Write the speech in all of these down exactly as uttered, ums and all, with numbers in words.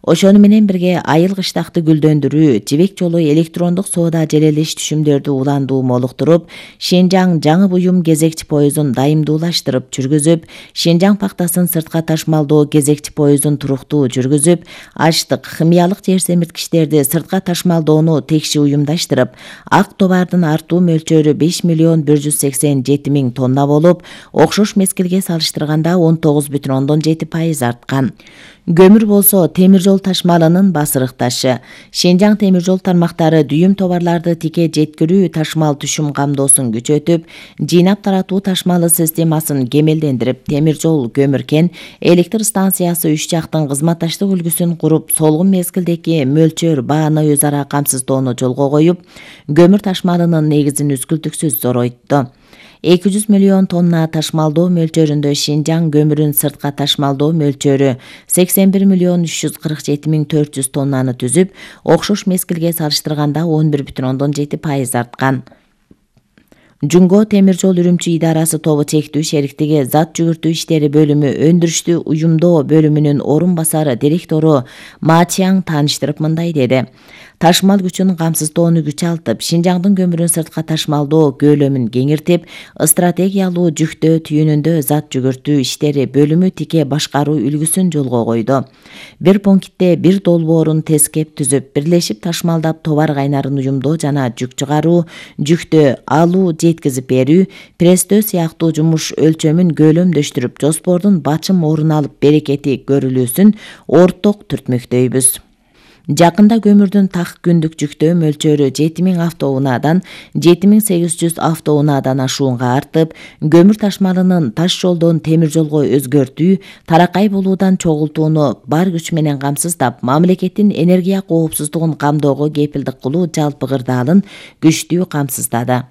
Ошону менен бирге айыл кыштакты гүлдөндүрүү, жибек жолу электрондук соода желелеш түшүмдөрдү уландуу молуктуруп, Шенжаң жаңы буюм кезекчи поездун дайымдуулаштырып жүргүзүп, Шенжаң пактасын сыртка ташмалдоо кезекчи поездун туруктуу жүргүзүп, аштык, химиялык жер семирткичтерди сыртка ташмалдоону текши уюмдаштырып, ак товардын артуу мөлчөрү беш миллион бир жүз сексен жети миң тонна болуп, окшош мезгилге салыштырганда он тогуз бүтүн ондон жети пайыз арткан. Көмүр болсо темир жол ташмалынын басырык ташы. Шенжаң темир жол тармактары дүйүм товарларды тике жеткирүү ташмал түшүм камдоосун күчөтүп, жыйнап таратуу ташмалы системасын кемелдендирип, темир жол көмүр кен электр станциясы үч жактын кызматташтык үлгүсүн куруп, солгун мезгилдеги мөлчөр бааны өз ара камсыздоону жолго коюп, көмүр ташмалынын негизин үзгүлтүксүз зоройтtu. эки жүз миллион тонна ташмалдоо мөлчөрүндө Шенжаң көмүрүн сыртка ташмалдоо мөлчөрү сексен бир миллион үч жүз кырк жети миң төрт жүз тоннаны түзүп, окшош мезгилге салыштырганда он бир бүтүн ондон жети пайыз арткан. Жунго темир жол Үрүмчү идарасы тобу чектүү шериктиги зат жүгүртүү иштери бөлүмү өндүрүштү уюмдоо бөлүмүнүн орун басары директору Ма Чиаң тааныштырып мындай деди. Ташмал күчүн камсыздоону күчалтып, Шенжаңдын көмүрүн сыртка ташмалдоо көлөмүн кеңиртип, стратегиялуу жүктөө түйүнүндө зат жүгүртүү иштери бөлүмү тике башкаруу үлгүсүн жолго койду. Бир пунктте бир долбоорун тескеп түзүп, бирлешип ташмалдап товар кайнарын уюмдоо жана жүк чыгаруу, жүктө алуу, жеткизип берүү, пресстөө сыяктуу жумуш өлчөмүн көлөмдөштүрүп, жоспордун бачым орун алып берекети көрүлүүсүн орток түртмөктөйбүз. Жакында көмүрдүн так күндүк жүктөө мөлчөрү жети миң автоунаадан жети миң сегиз жүз автоунаадан ашуунга артып, көмүр ташмалынын таш жолдон темир жолго өзгөртүү, таракай болуудан чогултууну бар күч менен камсыздап, мамлекеттин энергия коопсуздугун камдоого кепилдик кылуу жалпы кырдаалын күчтүү камсыздады.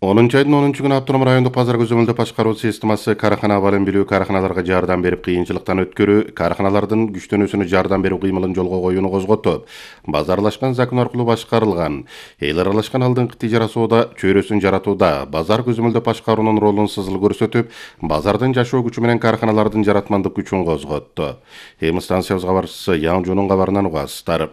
онунчу айдын онунчу күнү автоном райондук базар көзөмөлдөө башкаруу системасы каархана абалын билүү, каарханаларга жардам берип кыйынчылыктан өткөрүү, каарханалардын күчтөнүүсүнө жардам берүү кыймылын жолго коюуну козготуп, базарлашкан закон аркылуу башкарылган, эл аралашкан алдыңкы тижара соода чөйрөсүн жаратууда базар көзөмөлдөө башкаруунун ролун сызыл көрсөтүп, базардын жашоо күчү менен каарханалардын жаратмандык күчүн козготту. Эми станциябыз кабарчысы Яң Жунун кабарынан угасыздар.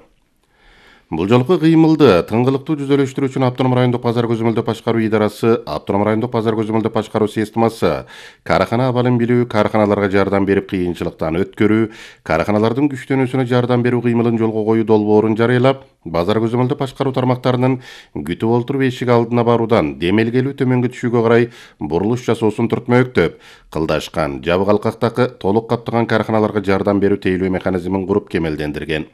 Бул жолку кыймылды тыңгылыктуу жүзөлөштүрүү үчүн автоном райондук базар көзөмөлдөө башкаруу идарасы, автоном райондук базар көзөмөлдөө башкаруу системасы, каархана абалын билүү, каарханаларга жардам берип кыйынчылыктан өткөрүү, каарханалардын күчтөнүүсүнө жардам берүү кыймылын жолго коюу долбоорун жарыялап, базар көзөмөлдөө башкаруу тармактарынын күтүп олтуруп эшик алдына баруудан демелгелүү төмөнгө түшүүгө карай бурулуш жасоосун түртмөктөп, кылдашкан, жабык алкактагы толук каптаган каарханаларга жардам берүү тейлөө механизмин куруп кемелдендирген.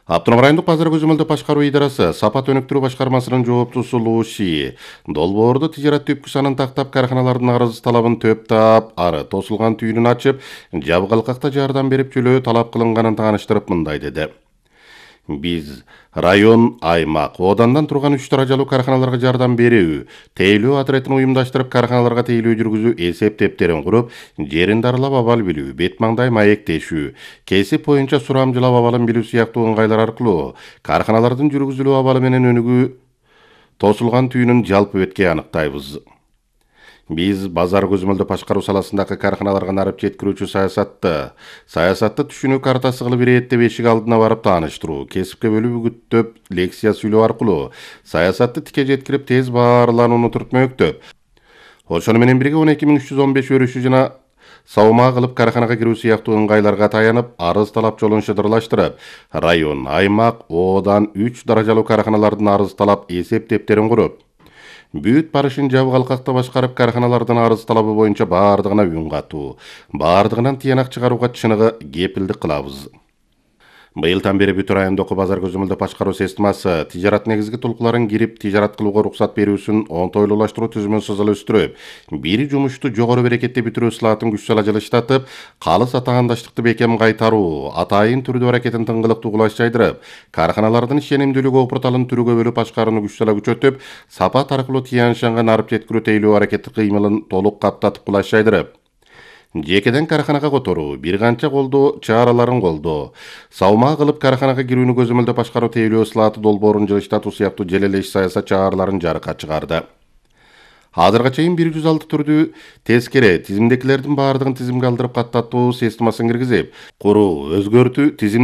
Автоном райондук базар көзөмөлдөө башкаруу идарасы сапат өнүктүрүү башкармасынын жооптуусу Лу Ши долбоорду тижарат түпкү санын тактап, каарханалардын арыз талабын төп таап, ары тосулган түйүнүн ачып, жабык алкакта жардам берип жөлөө талап кылынганын тааныштырып мындай деди. Биз район, аймак, одандан турган үч даражалуу каарханаларга жардам берүү, тейлөө отрядын уюмдаштырып, каарханаларга тейлөө жүргүзүү эсеп тептерин куруп, жерин дарылап абал билүү, бет маңдай маектешүү, кесип боюнча сурамжылап абалын билүү сыяктуу ыңгайлар аркылуу каарханалардын жүргүзүлүү абалы менен өнүгүү тосулган түйүнүн жалпы бетке аныктайбыз. Биз базар көзөмөлдөө башкаруу саласындагы каарханаларга нарып жеткирүүчү саясатты, саясатты түшүнүү картасы кылып ирээттеп эшик алдына барып тааныштыруу, кесипке бөлүп үгүттөп, лекция сүйлөө аркылуу саясатты тике жеткирип тез баарланууну түртмөктөп, ошону менен бирге он эки миң үч жүз он беш өрүшү жана саума кылып каарханага кирүү сыяктуу ыңгайларга таянып, арыз талап жолун шыдырлаштырып, район, аймак, оодан үч даражалуу каарханалардын арыз талап эсеп тептерин куруп, бүт барышын жабык алкакта башкарып, каарханалардын арыз талабы боюнча баардыгына үн катуу, баардыгынан тыянак чыгарууга чыныгы кепилдик кылабыз. Быйылдан бери бүт райондогу базар көзөмөлдөө башкаруу системасы тижарат негизги толкуларын кирип, тижарат кылууга уруксат берүүсүн оңтойлуулаштыруу түзүмүн сызылыштырып, бир жумушту жогору берекетте бүтүрүү слатын күч сала жылыштатып, калыс атаандаштыкты бекем кайтаруу, атайын түрдүү аракетин тыңгылыктуу кулаш жайдырып, каарханалардын ишенимдүүлүгү опурталын түрүгө бөлүп башкарууну күч сала күчөтүп, сапат аркылуу тыянчанга нарып жеткирүү тейлөө аракети кыймылын толук каптатып кулаш жайдырып, жекеден каарханага которуу, бир канча колдоо чараларын колдоо, саума кылып каарханага кирүүнү көзөмөлдөө башкаруу тейлөө слаты долбоорун жылыштатуу сыяктуу желелеш саясат чараларын жарыкка чыгарды. Азырга чейин бир жүз алты түрдүү тескере тизимдегилердин баардыгын тизимге алдырып каттатуу системасын киргизип, куруу, өзгөртүү, тизим